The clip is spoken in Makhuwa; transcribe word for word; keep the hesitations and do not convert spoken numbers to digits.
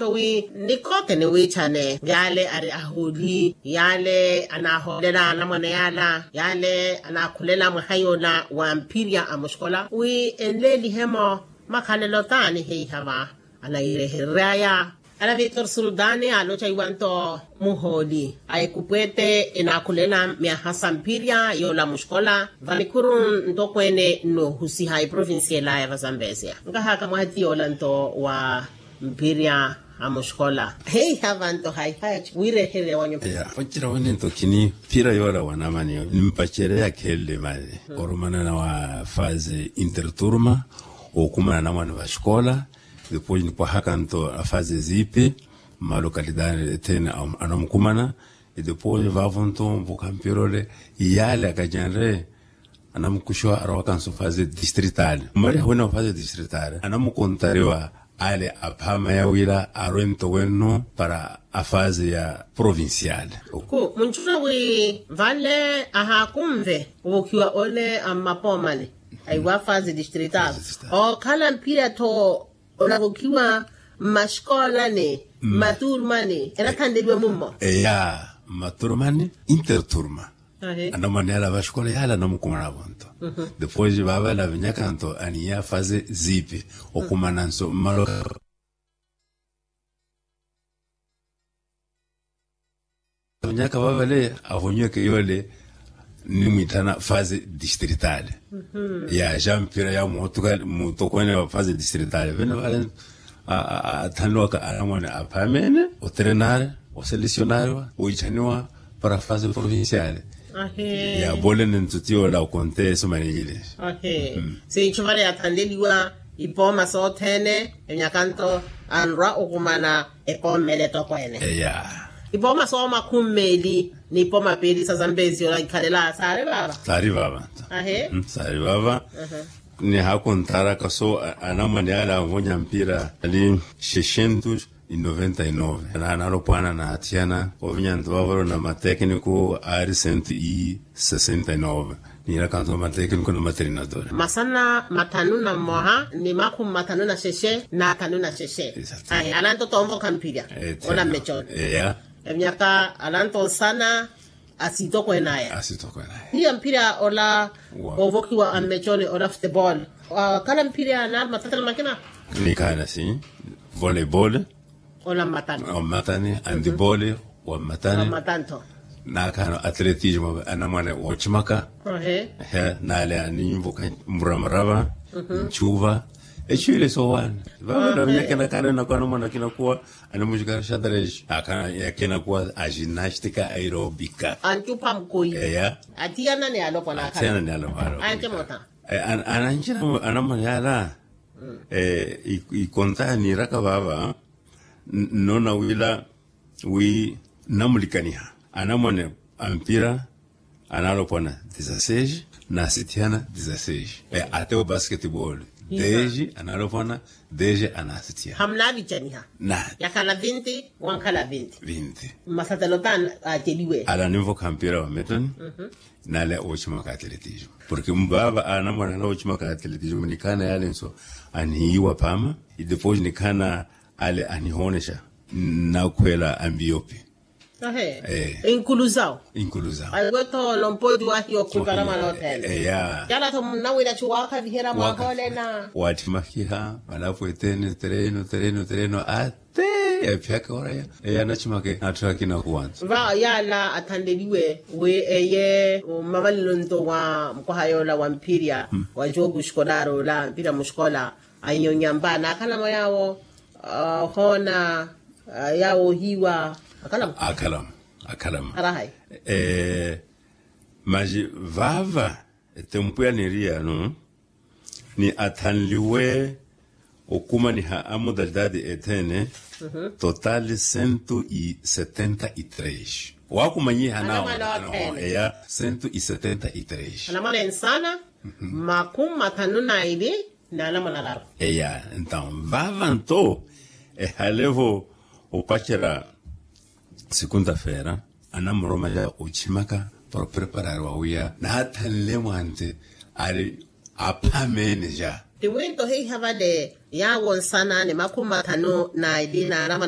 Wi nikooke niwiichane yaale ari ahooli yaale anaahoolelana mwaneyaala yaale anaakhulela mwaha yoola wa mpirya a muxikola wi enleelihe-mo makhalelo taani heiha va. Anairehereryaya ana victor sultani aloca iwanto muhooli a ekupwete enakhulela myaha sa mpirya yoola muxikola va nikhuru ntokweene nnoohusiha eprovincia elaya va zambesia nkahaka mwaha ti yoola nto wa mpirya a muxikola heiha vanto haihayaci wiirehererya wanyu. Mpacerya wene nto khini mpira yoola wanamani nimpacerya yakheelle mali orumana na wa fase interturma. Okumana na mwana va xikola depois nipwahaka nto a fase ziipi mmalokalitari ethene anamukumana. Depois vavo nto mvuka mpira ole yaale akacenre anamukuxiwa arowaka nso fase distritale mmaliha wina wa fase distritale anamukontariwa ale aphaama yawira arwento wenno para a fase ya provinciale. Ku muncuna wi vale ahaakunve ovokhiwa ole a mmapoomani aiwa fase distritale okhala mphira tho onavokhiwa mmaxikoolani mmaturumani enathanleliwe mummo. Eya mmaturumani interturma anamwaneyala vaxikola yala anamukumana vonto. Depois vavale avinyaka nto aniya fase ziipi okumana nso mmaloka avinyaka vavale avonyiweke yole nimwithana fase distritale ya xa mpira ya mutokwene wa fase distritale vene vale athanliwaka anamwane aphamene otrenare oselecionariwa oichaniwa para fase provinciale. Ya bolene ntuti yola okonte eso manejile. Sinchu vale yathanleliwa ipooma sothene enyakanto anrwa okumana epooma ele etokweene. Ipooma soomakhummeeli n'ipooma piili sa zambezi ola ikhalela saari vava. Saari vava. Saari vava. Nihaakontharaka so anamwane ale anvonya mpira ali xexentus inoventa inove naanalopwana naathiyana ovinya nto vavolo na matekniku aari sento i sesenta inove. Niiraka nto matekniku na materinadora masana mathanu na mmoha ni makhumi mathanu na xexe na thanu na xexe. Ananto toonvokha mphirya ola mmechoni. Evinyaka ananto nsana asitokweene aya. Iya mphira ola ovokhiwa a mmechoni ola futebol. Khala mphira na matatana makina. Nikhaana si volebol ola mmatani. Mmatani andibol wa mmatani. Nakhaana atletismo anamwane wochimaka. Naale aninvokha muramarava nchuva echuwile sowaani. Vavano vinyakenakana nakuwa anamwane akinakuwa animuxikara xadrex akana yakena kuwa a ginastika aerobika. Antupha mkoi eya. Atiyana ni alopwana akana. Atiyana ni alopwana. Ante mota. Ananchina anamwane ala ikontaha niiraka vava. Nnona wila wi nnamulikaniha anamwane a mpira anaalopwana dizasseis. Naasithiyana dizasseis ate o basketball. Deji anaalopwana deji anaasithiyana. Hamunaavicaniha na yakhala vinti wankhala vinti vinti. Mmasatelo tani ateliwe ala ninvokha mpira wa metoni. Nale oochimaka atletismo porque mvaava anamwane ala oochimaka atletismo nikhaana yale nso anihiiwa phaama. Idepois nikhaana ale anihoonexa nnakhweela ambiyopi. Inkuluzawo inkuluzawo. Aiwetho lompoti wahiya okhupara mwana othene. Eya yala-tho munnawira chuwaakhaviherya mwahoolena. Waathimahiha malapo etene tereno tereno tereno ate yaphiyaka oraya. Eya anachimake naatthaka kinakuwanso va yala athanleliwe wi eye mmavalelo nto wa mukwaha yoola wa mphirya wa jogo escolar ola mphirya muxikola. Anyonyamba naakhalamo yaawo ohoona yaawo ohiiwa akhalamo. Akhalamo akhalamo. Arahayi masi vaava etempu ya niriyano ni athanliwe okumaniha a modalidade ethene total cento e setenta e tres. Waakumanyiha nawo eya cento e setenta e tres. Anamwane nsana makhumi mathanu na ili. Naalamonalaru eya ntawo vaava nto ehalevo opacerya. Segunda-feira anamuroma ya ochimaka para opreparari wawiya naathanle mwante ari aphamene ja. Tiwinto heiha vale yaawo nsana ni makhumi mathanu na ili naalamonalaru.